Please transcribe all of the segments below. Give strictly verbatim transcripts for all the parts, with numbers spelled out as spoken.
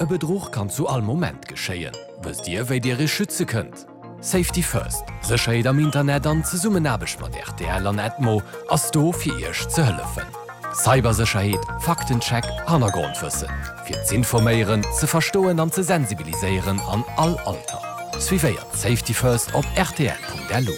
E Bedruch kann zu all Moment geschéien. Wësst Dir, wéi Dir Iech schütze kënnt? Safety First, Sécherheet am Internet an Zesummenaarbecht mat R T L an Edmo ass do fir Iech ze hëllefen. Cybersécherheet, Faktencheck, Hannergrondwëssen. Fir z'informéieren, ze verstoen an ze sensibiliséieren an all Alter. Suivéiert Safety First op R T L Punkt L U.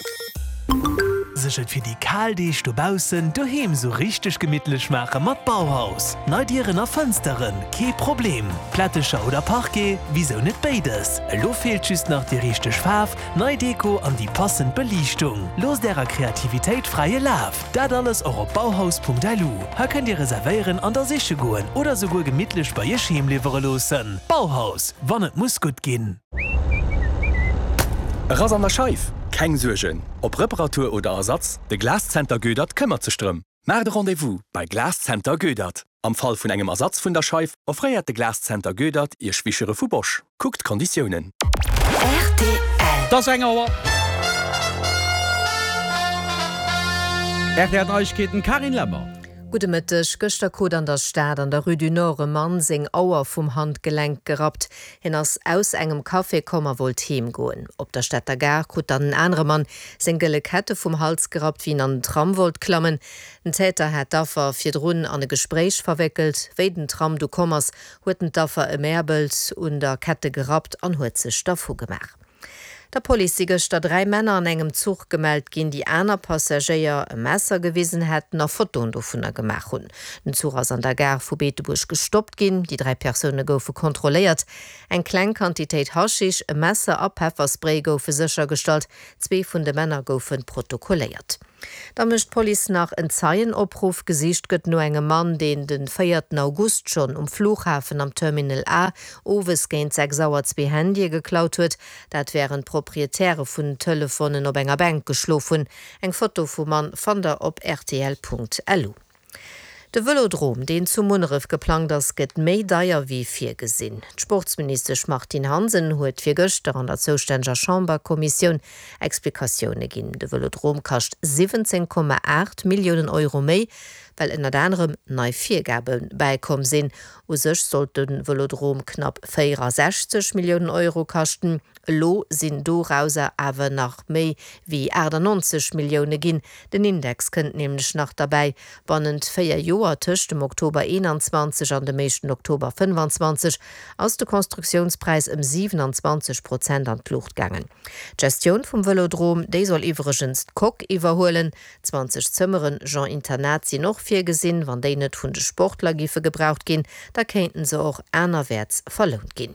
Sech et fir déi kal Deeg dobaussen doheem sou richteg gemittlech maache mat Bauhaus. Nei Dieren a Fënsteren, kee Problem. Plättecher oder Parquet, wisou net béides? Elo feelt just nach déi richteg Faarf, nei Deko an déi passend Beliichtung. Loosst ärer Kreativitéit fräie Laf. Dat alles och op bauhaus Punkt L U. Hei kënnt Dir reservéieren an da siche goen oder souguer gemittlech bei Iech heem liwwere loossen. Bauhaus, wann et muss gutt ginn. E Rass an der Scheif? Keng Suergen. Ob Reparatur oder Ersatz, de Glascenter Goedert këmmert sech drëm. Maacht e Rendez-vous bei Glascenter Goedert. Am Fall vun engem Ersatz vun der Scheif offréiert de Glascenter Goedert Iech Wischere vu Bosch. Kuckt d'Konditiounen. R T L. Et ass eng Auer. R T L Neiegkeeten, Carine Lemmer. Gudde Mëtteg. Gëschter krut an der Stad an der Rue du Nord e Mann seng Auer vum Handgelenk gerappt. Hien ass aus engem Café komm a wollt heem goen. Op der Stater Gare krut dann en anere Mann seng gëlle Kette vum Hals gerappt, wéi en an den Tram wollt klammen. Den Täter hat d'Affer virdrun an e Gespréich verwéckelt. Wéi den Tram du komm ass, huet en d'Affer ëmäerbelt, un der Kette gerappt an huet sech dervu gemaach. Der Police si gëschter dräi Männer an engem Zuch gemellt ginn, déi aner Passagéier e Messer gewisen hätten a Fotoen dovunner gemaach hunn. Den Zuch ass an der Gare vu Beetebuerg gestoppt ginn, déi dräi Persoune goufe kontrolléiert. Eng kleng Quantitéit Haschisch, e Messer a Pefferspray goufe séchergestallt, zwee vun de Männer goufe protokolléiert. Da mécht d'Police nach en Zeienopruff. Gesicht gëtt no engem Mann, deen de véierten August schonn um Flughafen am Terminal A owes géint sechs Auer zwee Handye geklaut huet. Dat wärend d'Proprietäre vun den Telefonen op enger Bänk geschlof hunn. Eng Foto vum Mann fannt der op R T L Punkt L U. De Vëlodrom, deen zu Munneref geplangt ass, gëtt méi deier wéi virgesinn. D'Sportsministesch Martine Hansen huet virgëschter an der zoustänneger Chamberkommissioun Explikatioune ginn. De Vëlodrom kascht siwwenzéng Komma aacht Milliounen Euro méi, well ënnert anerem nei Virgabe bäikomm sinn. U sech sollt de Vëlodrom knapp véierasechzeg Milliounen Euro kaschten. Elo sinn dorauser awer nach méi wéi aachtannonzeg Millioune ginn. Den Index kënnt nämlech nach derbäi. Bannent véier Joer tëscht dem Oktober eenanzwanzeg an dem éischten Oktober fënnefanzwanzeg ass de Konstruktiounspräis ëm siwenanzwanzeg Prozent an d'Luucht gaangen. D'Gestioun vum Vëlodrom, déi soll iwwregens d'Coque iwwerhuelen. Zwanzeg Zëmmeren genre Internat sinn och virgesinn. Wann déi net vun de Sportler géife gebraucht ginn, da kéinten se och anerwäerts verlount ginn.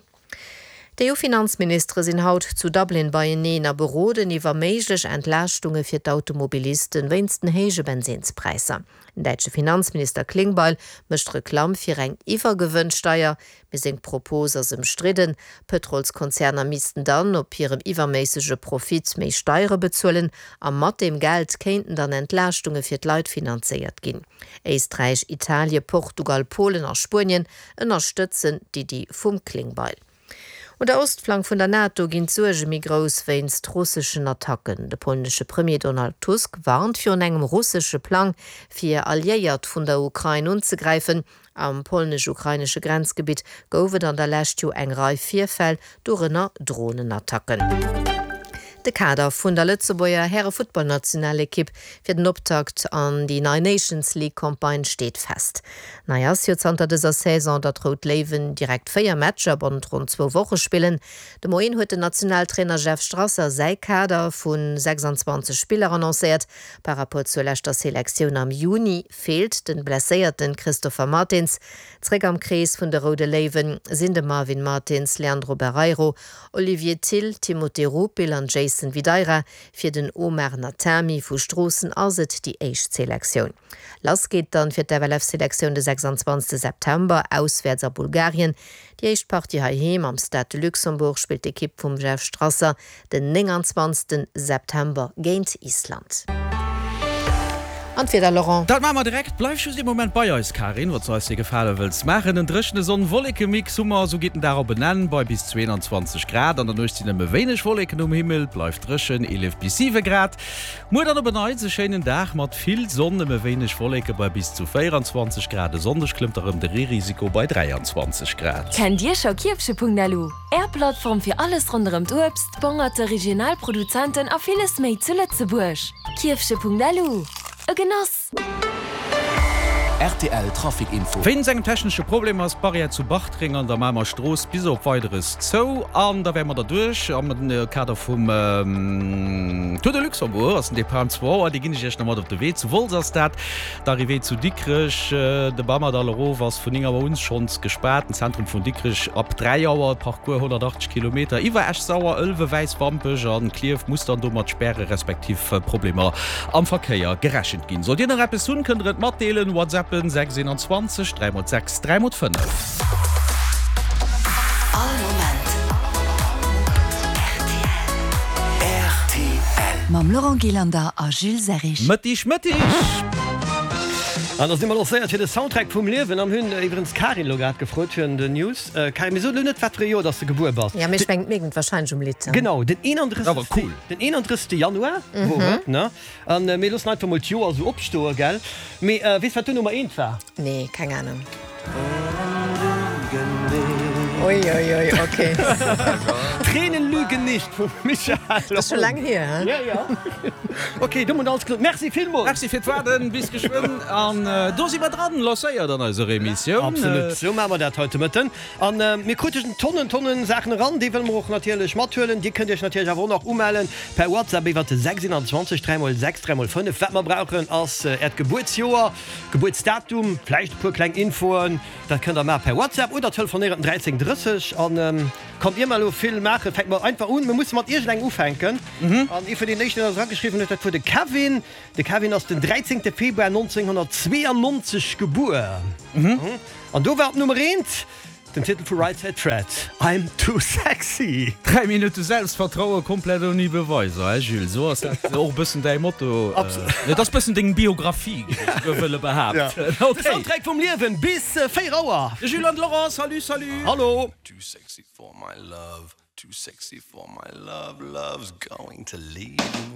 D'E U-Finanzministere sinn haut zu Dublin beieneen a beroden iwwer méiglech Entlaaschtunge fir d'Automobilisten wéinst den héije Bensinnspräisser. Den däitsche Finanzminister Klingbeil mécht Reklamm fir eng Iwwergewënnsteier, mee seng Propos ass ëmstridden. Pëtrolskonzerner missten dann op hirem iwwerméissege Profit méi Steiere bezuelen a mat deem Geld kéinten dann Entlaaschtunge fir d'Leit finanzéiert ginn. Éisträich, Italie, Portugal, Polen a Spuenien ënnerstëtzen d'Iddi vum Klingbeil. Un der Ostflank vun der NATO ginn d'Suerge méi grouss wéinst russeschen Attacken. De polnesche Premier Donald Tusk warnt virun engem russesche Plang, fir Alliéiert vun der Ukrain unzegräifen. Am polnesch-ukrainesche Grenzgebitt gouf et an der Lescht jo eng Rei Virfäll, dorënner Dronenattacken. De Kader vun der Lëtzebuerger Härefuttballnationalekipp fir den Optakt an déi nei Nations League Campagne steet fest. Nei ass jo zanter dëser Saison, datt d'Rout Léiwen direkt véier Matcher bannent ronn zwou Woche spillen. De Moien huet den Nationaltrainer Jeff Strasser säi Kader vu sechsanzwanzeg Spiller annoncéiert. Par rapport zur leschter Selektioun am Juni feelt de blesséierte Christopher Martins. Zréck am Krees vun de Roude Léiwen sinn de Marvin Martins, Leandro Barreiro, Olivier Thill, Timothé Rupil an Jason Videira. Fir den Omar Natami vu Stroossen ass et déi éischt Selektioun. Lass geet dann fir d'F L F-Selektioun de sechsanzwanzegste September auswäerts a Bulgarien. Déi éischt Partie heiheem am Stade de Luxembourg spillt d'Ekipp vum Jeff Strasser den nénganzwanzegste September géint Island. An d'Wieder, Laurent? Dat maache mer direkt. Bleif just ee Moment bei eis, Karin, wann s du eis dee Gefale wëlls maachen. En dréchene Sonn-Wolleke-Mix hu mer, esou geet den Dag op en Enn bei bis zweeanzwanzeg Grad. An der Nuecht sinn nëmme wéineg Wolleken um Himmel, bleift dréchen, eelef bis siwe Grad. Muer dann op en Neits e schéinen Dag mat vill Sonn, nëmme wéineg Wolleke bei bis zu véieranzwanzeg Grad. E Sonndeg klëmmt erëm de Reerisiko bei dräianzwanzeg Grad. Kennt Dir scho Kierfche.lu? Är Plattform fir alles ronderëm d'Uebst, d'Bongerte, regional Produzenten a villes méi zu Lëtzebuerg. Kierfche.lu, E Genoss! Rtl Trafic Info. Wéinst engem technesche Problem ass d'Barrière zu Bartreng an der Mamer Strooss bis op Weideres zou. An da wäre mer derduerch. Am Kader vum Tour de Luxembourg ass den Depart um zwou Auer. Dee ginn ech iech nach mat op de Wee. Zu Wolz ass dat d'Arrivée zu Dikrech. De Bamerdall erof ass vun néng Auer un schonns gespaart. Den Zentrum vun Dikrech ab dräi Auer. Parcours honnertachtzeg Kilometer iwwer Esch-Sauer, Ëlwen, Wäiswampech an Klierf muss dann do mat Späre respektiv Problemer am Verkéier gerechent ginn. Sollt Dir nach eppes hunn, kënnt der et matdeelen, WhatsAppen sechs einundzwanzeg dräi mol sechs dräi mol fënnef. All Moment rtl. Mam Laurent Gillander a Jules Serrig. Mëttig, mëttig! An da si mer lancéiert fir de Soundtrack vum Liewen an hunn iwwerens d'Karin elo grad gefrot fir den News. Karin, mir soen elo net wat fir e Joer dass de gebuer bass. Ja, mee ech mengen, et mierkt wahrscheinlech um Lidd. Genau, den eenandrëssegste, cool. den eenandrëssegste Januar wor et, ne? An mir loossen einfach mol d'Joer esou opstoe, gell? Mee weess wat du Nummer eent war? Nee, keng Ahnung. Ui, ui, ui, okay. Tränen lügen nicht vum Michael. Dat ass scho laang hier, hein? Ja, ja. Okay, domat alles gesot. Merci villmools. Merci fir d'Waarden. Bis geschwënn. An do si mer dran, lancéiert an eiser Emissioun. Absolut, sou maache mer dat haut de Mëtten. An mir kruten Tonnen, Tonnen Saachen eran. Déi wëlle mer och natierlech mathuelen. Dir kënnt Iech natierlech awer och nach umellen per WhatsApp iwwert de sechs einundzwanzeg dräi mol sechs dräi mol fënnef. Wat mer brauchen ass Äert Gebuertsjoer, Gebuertsdatum, vläicht e puer kleng Infoen. Dat kënnt der maache per WhatsApp oder telefonéieren dräizéng drësseg. An kommt, ier mer elo vill maachen, fänke mer einfach un. Mir musse mat iergendengem ufänken. An ee vun deenen éischten, deen eis erageschriwwen huet, dat wor de Kevin. De Kevin ass den dräizéngte Februar nonzénghonnertzweeannonzeg gebuer. An do war op Nummer eent den Titel vu Right Said Fred, I'm Too Sexy. Dräi Minutte Selbstvertraue komplett ouni Beweiser, he Jules? Esou ass dat och e bëssen däi Motto. Et ass bëssen deng Biographie, géif ech esouguer wëlle behaapten. De Soundtrack vum Liewen bis véier Auer. De Jules an de Laurent, salut, salut. Hallo. Too sexy for my love, too sexy for my love, love's going to leave me.